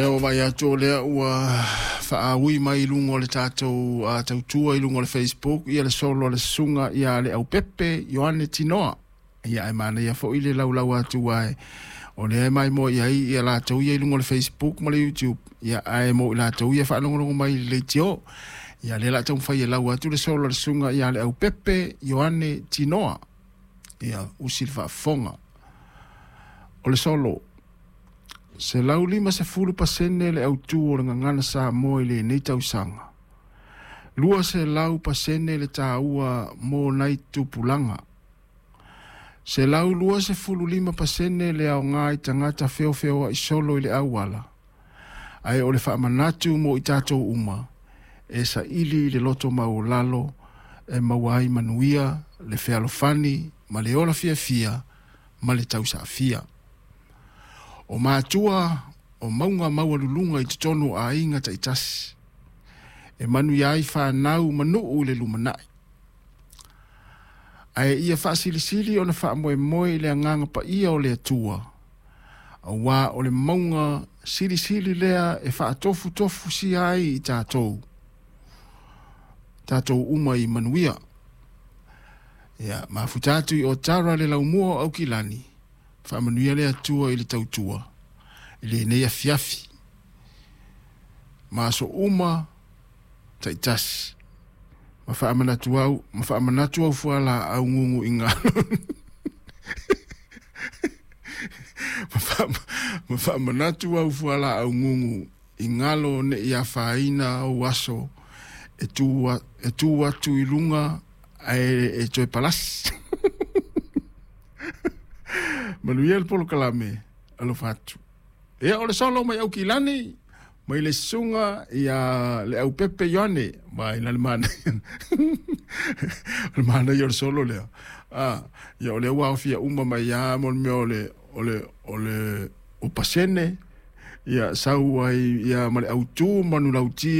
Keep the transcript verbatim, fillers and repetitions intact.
Ua vaai atu o lea ua faaui mai i luga o le tatou tautua i luga o le Facebook ia le solo a le susuga ia Leaupepe Ioane Tinoa. Ia ae manaia foi le laulau atu ai o lea e maimoa i ai ia latou ia i luga o le Facebook ma le YouTube, ia ae mo i latou ia faalogologo mai i le leitio. Ia lea o le a taumafai e lau atu le solo a le susuga ia Leaupepe Ioane Tinoa. Ia usi le faafofoga. O le solo. Selau lima sefulu pasene le autū o le gagana Samoa i lenei tausaga. Lua selau pasene le tāua mo nai tupulaga. Selau lua sefulu lima pasene le aogā i tagata feofeoai solo i le auala. Ae o le faamanatu mo i tatou uma, e saili i le loto maualalo e maua ai manuia, le fealofani ma le ola fiafia ma le tausaafia. O matua o mauga maualuluga i totonu o aiga taitasi, e manuia ai fanau ma nuu i le lumanai. Ae ia faasilisili ona faamoemoe i le agaga paia o le Atua, auā o le mauga silisili lea e faatofutofusia ai i tatou, tatou uma i manuia. Ia, mafuta atu i Otara le laumua o Aukilani, faamanuia le Atua i le tautua, i lenei afiafi. Ma aso uma taitasi. Ma faamanatu au, ma faamanatu au fualaau gugu i galo. Ma faamanatu au fualaau gugu i galo ne i afaina ou aso e tu, e tu atu i luga ae e toe palasi. Manuia le polokalame, alofa atu. Ia o le solo mai Aukilani, mai le susuga ia Leaupepe Ioane, mai la le manaia. O le manaia o le solo lea. Ah, ia o lea ua aofia uma mai ia mo le mea o le o le o le o pasene ia sau ai ia ma le autū manulauti.